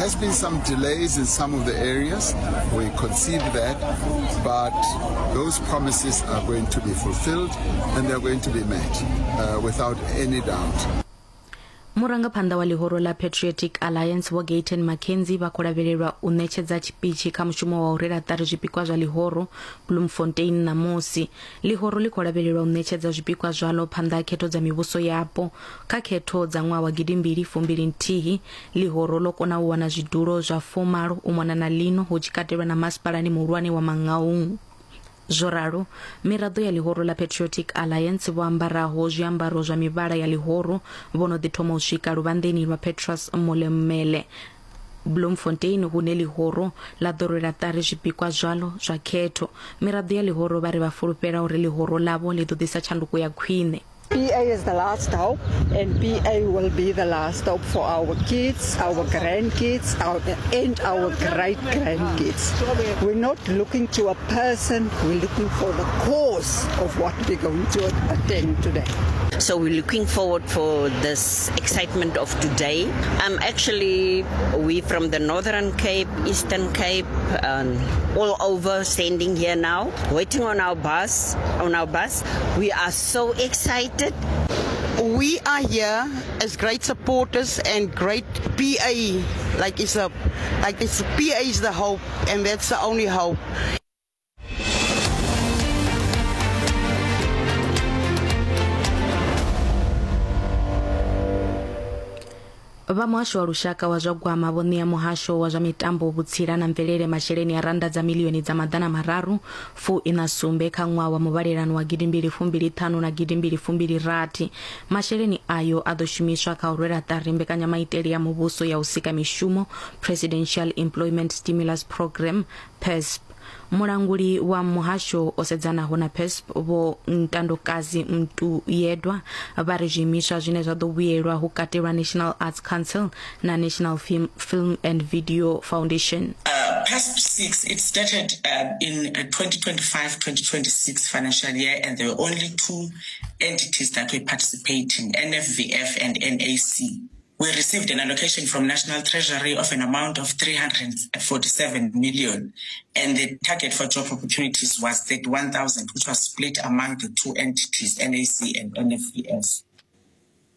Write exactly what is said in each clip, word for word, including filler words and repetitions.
has been some delays in some of the areas. We concede that, but those promises are going to be fulfilled and they're going to be met uh, without any doubt. Murangaphanḓa wa ḽihoro ḽa Patriotic Alliance Vho Gayton McKenzie vha khou lavhelelwa u ṋetshedza tshipitshi kha mushumo wa u rwela ṱari zwipikwa zwa ḽihoro Bloemfontein ṋamusi. Ḽihoro ḽi khou lavhelelwa u ṋetshedza zwipikwa zwalo phanḓa ha khetho dza mivhuso yapo. Kha khetho dza ṅwaha wa gidimbili fumbili nthihi ḽihoro ḽo kona u wana zwidulo zwa fumalo u mona na ḽino hu tshi katelwa na masipalani muhulwane wa Mangaung. Zwo ralo, miraḓo ya ḽihoro ḽa Patriotic Alliance vho ambaraho zwiambaro zwa mivhala ya ḽihoro vho no ḓi thoma u swika luvhanḓeni lwa Petrus Molemele Bloemfontein hune ḽihoro ḽa ḓo rwela ṱari zwipikwa zwalo zwa khetho. Miraḓo ya ḽihoro vha ri vha fulufhela uri ḽihoro ḽavho ḽi ḓo ḓisa tshanduko ya khwine. P A is the last hope, and P A will be the last hope for our kids, our grandkids, our, and our great-grandkids. We're not looking to a person, we're looking for the cause of what we're going to attend today. So we're looking forward for this excitement of today. Um, actually, we from the Northern Cape, Eastern Cape, um, all over standing here now, waiting on our bus. On our bus, we are so excited. We are here as great supporters and great P A. Like it's a, like it's P A is the hope, and that's the only hope. Vha muhasho wa lushaka wa zwa gwama vho ṋea muhasho wa zwa mitambo, vhutsila na mvelele masheleni a randa dza milioni dza maḓana mararu fu ina sumbe kha ṅwaha wa muvhalelano wa gidimbili fumbili ṱhanu na gidimbili fumbili rathi. Masheleni ayo a ḓo shumiswa kha u rwela ṱari mbekanyamaitele ya muvhuso ya u sika mishumo, Presidential Employment Stimulus Programme P E S P. Mulanguli wa muhasho o sedzanaho na P E S P Vho Ntandokazi Mtuyedwa vha ri zwiimiswa zwine zwa ḓo vhuyelwa hu katelwa National Arts Council na National Film, Film and Video Foundation. Uh, P E S P six, it started uh, in twenty twenty-five twenty twenty-six financial year, and there were only two entities that were participating, N F V F and N A C. We received an allocation from National Treasury of an amount of three hundred forty-seven million, and the target for job opportunities was thirty-one thousand, which was split among the two entities, N A C and N F V F.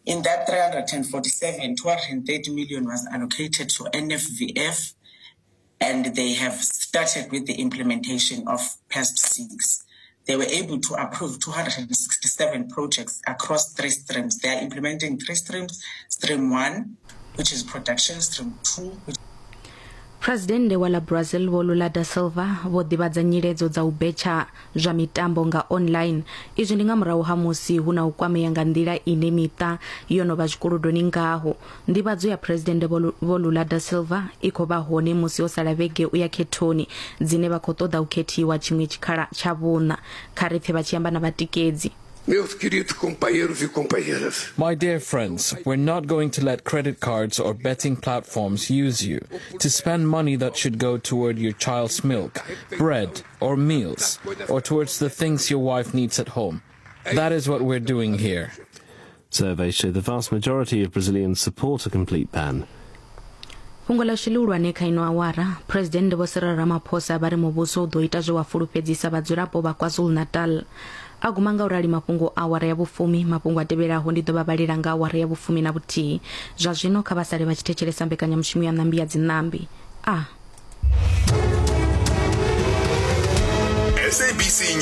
In that three hundred forty-seven, two hundred thirty million was allocated to N F V F, and they have started with the implementation of P E S P six. They were able to approve two hundred sixty-seven projects across three streams. They are implementing three streams: stream one, which is production, stream two, which President wa la Brazil Vho Lula da Silva vho ḓivhadza nyiledzo dza u betsha zwa mitambo nga online. Izwi ndi nga murahu ha musi hu na u kwamea nga nḓila ine miṱa yo no vha zwikolodoni ngaho. Nḓivhadzo ya President Vho Lula da Silva i khou vha hone musi ho sala vhege u ya khethoni dzine vha khou ṱoḓa u khethiwa tshiṅwe tshikhala tsha vhuṋa. Kha ri pfe vha tshi amba na vhatikedzi. Meus queridos companheiros e companheiras. My dear friends, we're not going to let credit cards or betting platforms use you to spend money that should go toward your child's milk, bread, or meals, or towards the things your wife needs at home. That is what we're doing here. Surveys show the vast majority of Brazilians support a complete ban. Fhungo ḽashu ḽihulwane kha ino awara, President Vho Cyril Ramaphosa vha ri muvhuso u ḓo ita zwe wa fulufhedzisa vhadzulapo vha KwaZulu-Natal. A guma nga u rali mafhungo awara ya vhufumi. Mafhungo a tevhelaho ndi ḓo vha vhalela nga awara ya vhufumi na vhuthihi. Zwa zwino kha vha sale vha tshi thetshelesa mbekanyamushumo ya Ṋambi ya Dziṋambi. A S A B C.